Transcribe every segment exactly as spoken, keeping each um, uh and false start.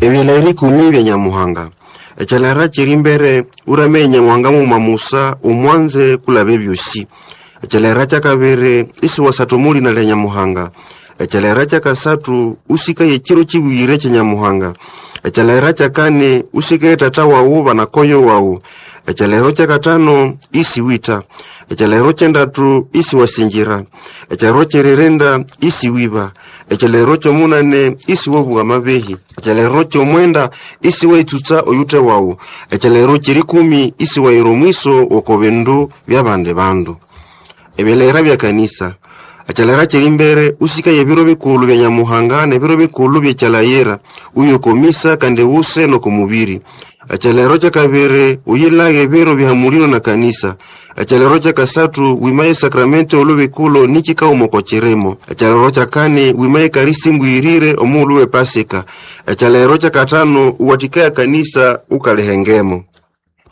Ebyalahiro ikumi bya Nyamuhanga. Ekyalahiro kyiri mbere urame Nyamuhanga mughuma musa umwanze kulaba ebyosi. Ekyalahiro kyakabiri isiwasatha omo lina lya Nyamuhanga. Ekyalahiro kyakasathu usikaye ekiro kibuyire kya Nyamuhanga. Ekyalahiro kyakani usikaye tata wawu banakoyo wawu. Ekyalahiro kyakatano isiwitha. Ekyalahiro kyendatu isiwasingira. Ekyalahiro kyeririnda isiwiba. Ekyalahiro kyomunane isiwabugha amabehi. Ekyalahiro kyomwenda isiwaitsutsa oyuthe wawu. Ekyalahiro kyerikumi isiwayira omwiso oko bindu byabandi bandu. Ebyalahiro bya kanisa. Ekyalahiro kyeri mbere usikaye ebiro bikulhu bya Nyamuhanga nebiro bikulhu byekyalayira uye oko misa kandi wuse noko mubiri. Ekyalahiro kyakabiri uyilage ebiro byahamulino na kanisa. Ekyalahiro kyakasathu wimaye esakramento olubikulo nikikaghuma oko kirimo. Ekyalahiro kyakani wimaye ekarisi mbuyirire omughulhu w'epasika. Ekyalahiro kyakathanu uwathikaye ekanisa ukalihengemo.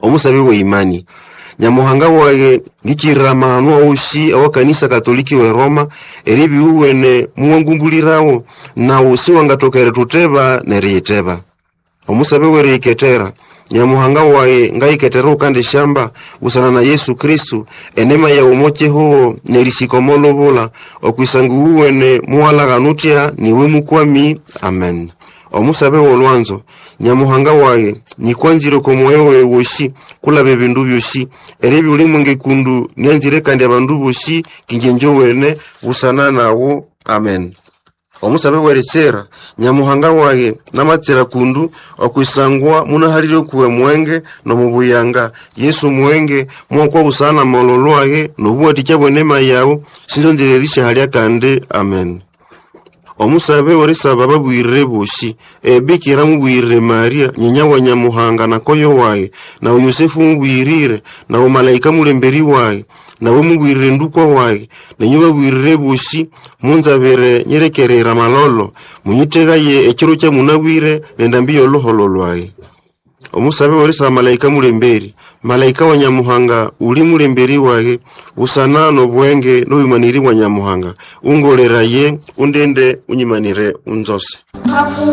Omusabe w'eimani. Nyamuhanga wage ngikirira amahano awosi awa kanisa katoliki we Roma eribya iwuwene muwangumbulirawo nawu siwangathoka erithuteba neriyitheba. Omusabe weriyikethera. Nyamuhanga wage ngayikethera ukandisyamba busana na Yesu Kristu enema yawu omo kihugho nerisika omo lubula okwisanga iwuwene muwalaghana uthya niwe mukwami. Amen. Omusabe w'olwanzo. Nyamuhanga wage nyikwanzire oko mwoyo wayi wosi kulaba ebindu byosi eribya uli mwenge kundu nyanzire kandi abandu bosi kingye njowene busana nawu. Amen. Omusabe weritsira. Nyamuhanga wage namatsira kundu okwisangwa munahalire okuwe mwenge nomubuyanga. Yesu mwenge mwakwa busana namalholho age nobuwathikya bw'enema yawu sinzonzire erisyahalya kandi. Amen. Omusabe werisaba ababuyirire bosi ebikira mubuyirire Maria nyinya wa Nyamuhanga nakoyo wage nawe Yosefu mubuyirire nawe malaika mulemberi wage nawe mubuyirire ndukwa wage nenyu babuyirire bosi munzabire nyirekerera amalolo munyithegaye ekiro kyamunabwire nendambi y'oluholo lwayi. Omusabe werisaba malaika mulemberi. Malaika wa Nyamuhanga uli mulemberi wage busana nobwenge n'obumaniri bwa Nyamuhanga ungoleraye undinde unyimanire unzose.